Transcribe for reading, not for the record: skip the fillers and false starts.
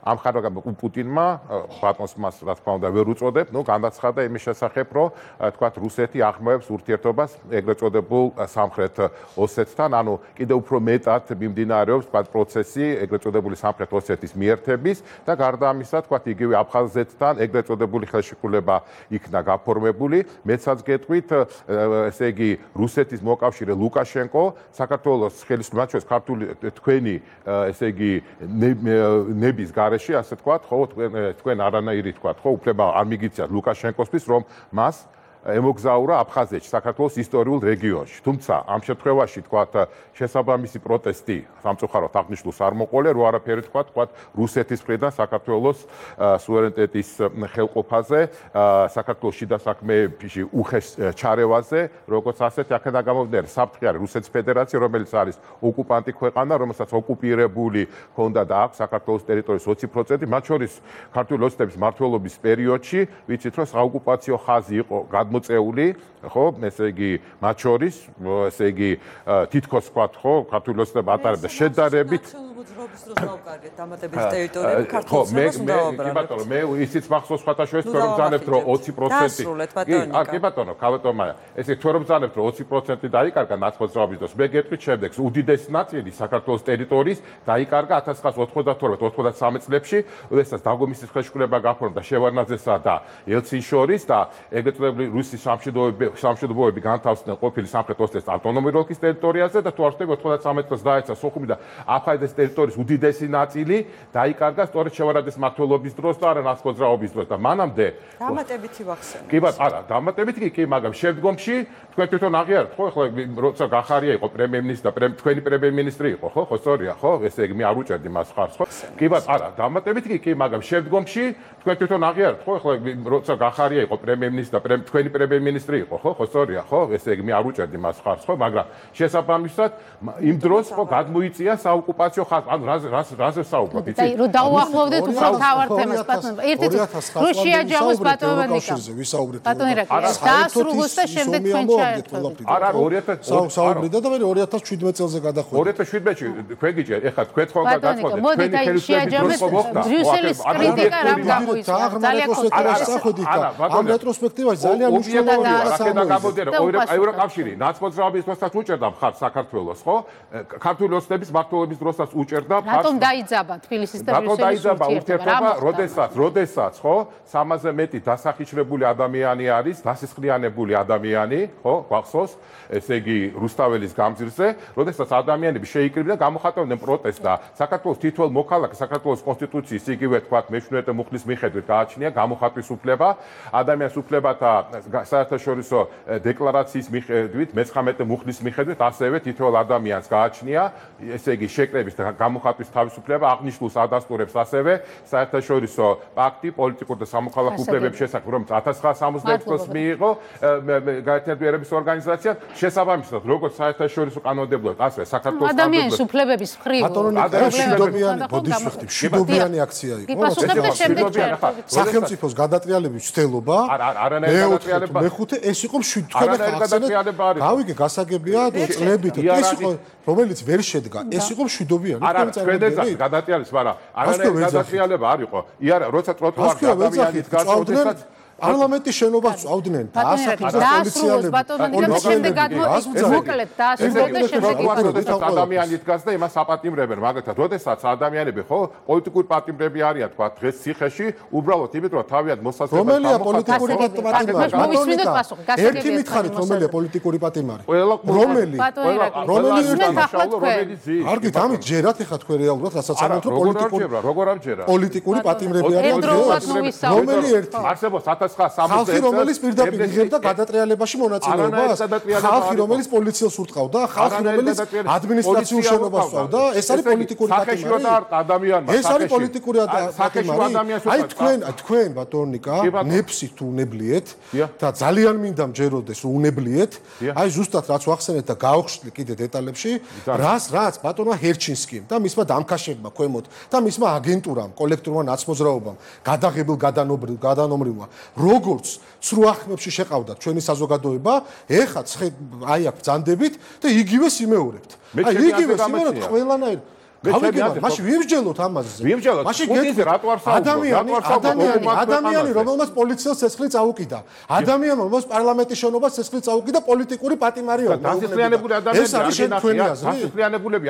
ამ ხარაგამ პუტინმა ბატონს მას რა თქმა უნდა ვერ უწოდებ, განაცხადა იმის შესახებ, რომ თქვათ რუსეთი აღმოებს ურთიერთობას ეგრეთ წოდებულ სამხრეთ ოსეთთან, ანუ კიდევ უფრო მეტად მიმდინარეობს თქვათ პროცესი ეგრეთ წოდებული სამხრეთ ოსეთის მიერთების და გარდა ამისა თქვათ იგივე აფხაზეთთან ეგრეთ წოდებული ხელშეკრულება იქნა გაფორმებული. მეცაც გეტყვით, ესე იგი რუსეთის მოკავშირე ლუკაშენკო საქართველოს ხელისუფლებას ქართული თქვენი ესე იგი ნების გარეშე ასე თქვათ, ხო თქვენ არანაირი თქვათ, ხო უფლება არ მიგიცათ ლუკაშენკოსთვის, რომ მას ემოგზაურა აფხაზეთში, საქართველოს ისტორიულ რეგიონში. თუმცა ამ შემთხვევაში თქვათ შესაბამისი პროტესტი სამწუხაროდ აღნიშნულს არ მოყოლე, რო არაფერი თქვათ რუსეთის მხრიდან საქართველოს სუვერენიტეტის ხელყოფაზე, საქართველოს შიდა საქმეებში უხეშ ჩარევაზე, როგორც ასეთი აქედან გამომდინარე საფრთხე არის რუსეთის ფედერაცია, რომელიც არის ოკუპანტი ქვეყანა, რომელსაც ოკუპირებული ჰქონდა და აქვს საქართველოს ტერიტორიის 20%, მათ შორის ქართული ოცნების მმართველობის პერიოდში, ვიცით რომ საოკუპაციო ხაზი იყო მოწეული, ხო, ესე იგი, მათ შორის, ესე იგი, თითქოს ვთქვათ, ხო, ქართული ოცნება ატარებდა შედარებით კი ბატონო, მე ისიც მახსოვს სხვათაშორის თქვენ რომ ბრძანებთ რომ 20% კი ბატონო, ქალბატონია, ესე თქვენ რომ ბრძანებთ რომ 20% დაიკარგა ნაცმოძრაობის დროს, მე გეტყვით შემდეგს, უდიდესი ნაწილი საქართველოს ტერიტორიის დაიკარგა 1992-93 წლებში, როდესაც დაღომისის ხელშეკრულება გაფორმდა შევარნაძესა და ელცინს შორის და ეგრეთ წოდებული რუსის სამშვიდობოები განთავსდნენ ყოფილი სამხრეთ ოსეთის ავტონომიური ოლქის ტერიტორიაზე და თუ არ ვთქვი 93 წელს დაეცა სოხუმი და აფხაზეთის ტერიტორიის უდიდესი ნაწილი დაიკარგა სწორედ შევარნაძის მმართველობის დროს და არა ნაცმოძრაობის დროს და მანამდე დამატებითი ვახსენე. კი ბატონო, არა, დამატებითი კი, მაგრამ შემდგომში თქვენ თვითონ აღიარეთ, ხო, ახლა როცა გახარია იყო პრემიერ-მინისტრი და თქვენი პრემიერ-მინისტრი იყო, ხო, სწორია, ხო, ესე იგი მე არ უჭერდი მას ხარს, ხო? კი ბატონო, არა, დამატებითი კი, მაგრამ შემდგომში თქვენ თვითონ აღიარეთ, ხო, ახლა როცა გახარია იყო პრემიერ-მინისტრი და თქვენი პრემიერ-მინისტრი იყო, ხო, სწორია, ხო, ესე იგი მე არ უჭერდი მას ხარს, ხო, მაგრამ შესაბამისად იმ დროს ხო გადმოიწია საოკუპაციო ხაზი, ანუ რაზე საუბრობთ, იცით? რომ დაუახლოვდეთ უფრო თავარ თემას, ბატონო. ერთით რუსია ჯამოს ბატონიკა. დაასრულოს და შემდეგ თქვენ ჩაერთვებით. არა, 2000 საუბრიდა და მე 2017 წელზე გადახვედი. 2017-ში თქვენ გიჭერ, ეხლა თქვენ თქვენ გადაწყვეტეთ. მოდი და შეაჯამეთ ბრიუსელის კრიტიკა რამ გამოიწვა. ძალიან კონკრეტულად ამ რეტროსპექტივაში ძალიან მნიშვნელოვანია. აქედან გამოდიან ევროკავშირი ნაცმოძრაობის დროსაც უჭერდა მხარს საქართველოს, ხო? ქართული ოცნების მმართველობის დროსაც უჭერდა მხარს. რატომ დაიძაბა თბილისის და რატომ დაიძაბა ურთიერთობა, როდესაც, ხო, 300-ზე მეტი დასახიჩრებული ადამიანი არის, დასისხლიანებული ადამიანი, ხო, გვახსოვს, ესე იგი რუსთაველის გამზირზე, როდესაც ადამიანები შეიკრიბნენ, გამოხატავდნენ პროტესტს და საქართველოს თითოეულ მოქალაქეს საქართველოს კონსტიტუციის იგივე თქვათ მეშვიდე მუხლის მიხედვით გააჩნია გამოხატვის უფლება, ადამიანის უფლებათა საერთაშორისო დეკლარაციის მიხედვით, მე-19 მუხლის მიხედვით, ასევე თითოეულ ადამიანს გააჩნია, ესე იგი შეკრების და გამოხატვის თავისუფლება, აღნიშნულს ადასტურებს ასევე საერთაშორისო პაქტი პოლიტიკურ და სამოქალაქო უფლებების შესახებ, რომელიც 1966 წელს მიიღო გაერთიანების ორგანიზაციამ, შესაბამისად, როგორც საერთაშორისო კანონმდებლობად, ასევე საქართველოს ადამიანის უფლებების მხრივ მშვიდობიანი აქცია იყო. სახელმწიფოს გადატრიალების მცდელობა, მეხუთე ეს იყო მშვიდობიანი. გავიგე, გასაგებია წლებით, ეს იყო რომელიც ვერ შედგა, ეს იყო მშვიდობიანი. არა, თქვენ გადატრიალებს, მაგრამ არანაირი გადატრიალება არ იყო. იარა, როცა ტროტუარზე ადამიანი დგას, პარლამენტის შენობას წავდნენ და ასაკის პოლიციელები მოკლედ დაასრულოს და შემდეგ ადამიანი დგას და იმას აპატიმრებენ, მაგალითად, როდესაც ადამიანები ხო პოლიტიკური პატიმრები არიან, თქვა დღეს ციხეში, უბრალოდ იმიტომ რომ თავიანთ მოსაზრებას რომელია პოლიტიკური პატიმარი? ერთი მითხარით რომელია პოლიტიკური პატიმარი? რომელი არგით ამით ჯერათ ეხა თქვენ რეალურად რასაც ამბობთ რომ პოლიტიკური პატიმრები არიან რომელი ერთი არსებობს ხალხი რომელიც პირდაპირ იღებდა გადატრიალებაში მონაწილეობას, ხალხი რომელიც პოლიციელს ურტყავდა, ხალხი რომელიც ადმინისტრაციულ შენობას წავდა, ეს არის პოლიტიკური პატიმარი. ეს არის პოლიტიკური პატიმარი. აი თქვენ ბატონიკა ნეფსი თუ უნებლიეთ და ძალიან მინდა მჯეროდეს რომ უნებლიეთ, აი ზუსტად რაც ვახსენეთ და გავხსნი კიდე დეტალებში, რაც ბატონმა ჰერჩინსკიმ და მისმა დამქაშებმა ქვემოთ და მისმა აგენტურამ, კოლექტიურმა ნაცმოძრაობამ გადაღებულ გადანომრილმა როგორც სრუახმებში შეყავდათ ჩვენი საზოგადოება, ეხაც აი აქ ბრძანდებით და იგივე სიმეორებთ. აი იგივე სიმეორებთ ყველანაირ მაშინ ვიმსჯელოთ ამაზე. ვიმსჯელოთ. პუტინზე რატო არ საუბრობ? ადამიანი, რომელმაც პოლიციას ცეცხლი წაუკიდა. ადამიანი, რომელმაც პარლამენტის შენობას ცეცხლი წაუკიდა პოლიტიკური პატიმარია. დასისხლიანებული ადამიანები ეს არის შენ თქვენი აზრი? დასისხლიანებულები